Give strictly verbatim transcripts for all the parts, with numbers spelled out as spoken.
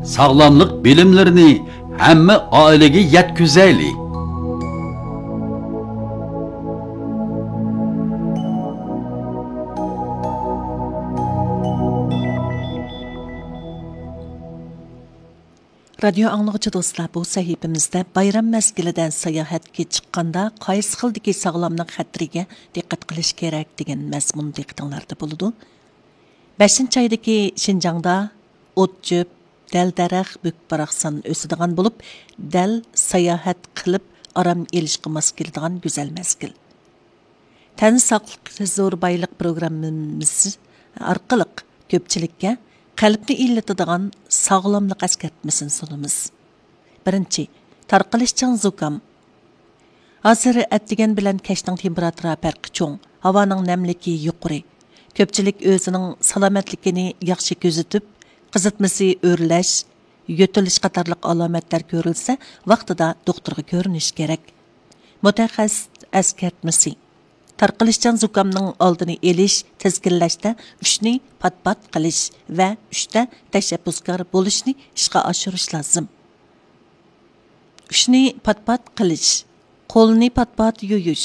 ساغلاملىق بىلىملىرىنى ھەممە ئائىلىگە يەتكۈزەيلى! رادىيو ئاڭلىغۇچى دوستلار، بۇ سەھىپىمىزدە بايرام مەزگىلىدە ساياھەتكە چىققاندا قايسى خىلدىكى ساغلاملىق خەتىرىگە دىققەت قىلىش كېرەك دېگەن مەزمۇن دىققىتىڭلاردا بولىدۇ. بەشىنچى ئايدىكى شىنجاڭدا ئوت-چۆپ، دەل-دەرەخ، بۈك-باراقسان ئۆسىدىغان بولۇپ، دەل ساياھەت قىلىپ ئارام ئېلىشقا ماس كېلىدىغان گۈزەل مەزگىل. تەن ساقلىق زور بايلىق پروگراممىمىز ئارقىلىق كۆپچىلىككە قەلبنى ئىللىتىدىغان ساغلاملىق ئەسكەرتمىسىنى سۇنىمىز. بىرىنچى، تارقىلىشچان زۇكام. ھازىر ئەتىگەن بىلەن كەچنىڭ تېمپېراتۇرا پەرقى چوڭ، ھاۋانىڭ نەملىكى يۇقىرى. كۆپچىلىك ئۆزىنىڭ سالامەتلىكىنى ياخشى كۆزىتىپ، قىزىتمىسى ئۆرلەش، يۆتىلىش قاتارلىق ئالامەتلەر كۆرۈلسە، ۋاقتىدا دوختۇرغا كۆرۈنۈش كېرەك. مۇتەخەسسىس ئەسكەرتمىسى. تارقىلىشچان زۇكامنىڭ ئالدىنى ئېلىش، تىزگىنلەشتە ئۈچنى پات-پات قىلىش ۋە ئۈچتە تەشەببۇسكار بولۇشنى ئىشقا ئاشۇرۇش لازىم. ئۈچنى پات-پات قىلىش. قولنى پات-پات يۇيۇش.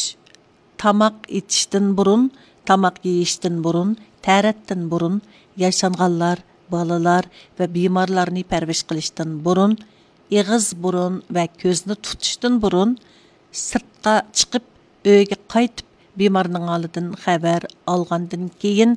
تاماق ئېتىشتىن بۇرۇن، تاماق يېيىشتىن بۇرۇن، تەرەتتىن بۇرۇن، ياشانغانلار، بالىلار ۋە بىمارلارنى پەرۋىش قىلىشتىن بۇرۇن، ئېغىز، بۇرۇن ۋە كۆزنى تۇتۇشتىن بۇرۇن، سىرتقا چىقىپ، ئۆيگە قايتىپ، بىمارنىڭ ھالىدىن خەۋەر ئالغاندىن كېيىن،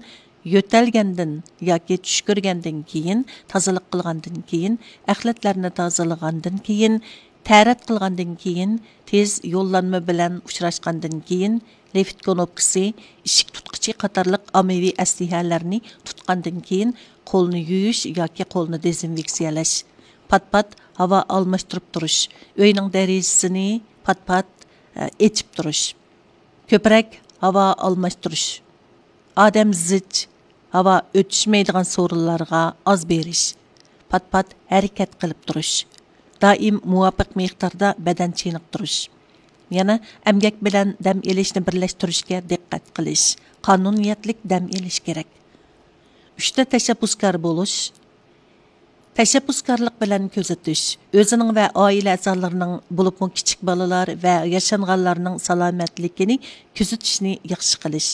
يۆتەلگەندىن ياكى چۈش كۆرگەندىن كېيىن، تازىلىق قىلغاندىن كېيىن، ئەخلەتلەرنى تازىلىغاندىن كېيىن، تەرەت قىلغاندىن كېيىن، تېز يوللانما بىلەن ئۇچراشقاندىن كېيىن، لىفت كۇنۇپكىسى، ئىشىك تۇتقۇچى قاتارلىق ئاممىۋى ئەسلىھەلەرنى تۇتقاندىن كېيىن، قولنى يۇيۇش ياكى قولنى دېزىنفېكسىيەلەش، پات-پات ھاۋا ئالماشتۇرۇپ تۇرۇش، ئۆينىڭ دېرىزىسىنى پات-پات، ئە، ئېچىپ تۇرۇش، كۆپرەك ھاۋا ئالماشتۇرۇش، ئادەم زىچ، ھاۋا ئۆتۈشمەيدىغان سورۇنلارغا ئاز بېرىش، پات-پات ھەرىكەت قىلىپ تۇرۇش، دائىم مۇۋاپىق مىقداردا بەدەن چېنىقتۇرۇش. يەنە ئەمگەك بىلەن دەم ئېلىشنى بىرلەشتۈرۈشكە دىققەت قىلىش، قانۇنىيەتلىك دەم ئېلىش كېرەك. ئۈچتە تەشەببۇسكار بولۇش. تەشەببۇسكارلىق بىلەن كۆزىتىش، ئۆزىنىڭ ۋە ئائىلە ئەزالىرىنىڭ، بولۇپمۇ كىچىك بالىلار ۋە ياشانغانلارنىڭ سالامەتلىكىنى كۆزىتىشنى ياخشى قىلىش.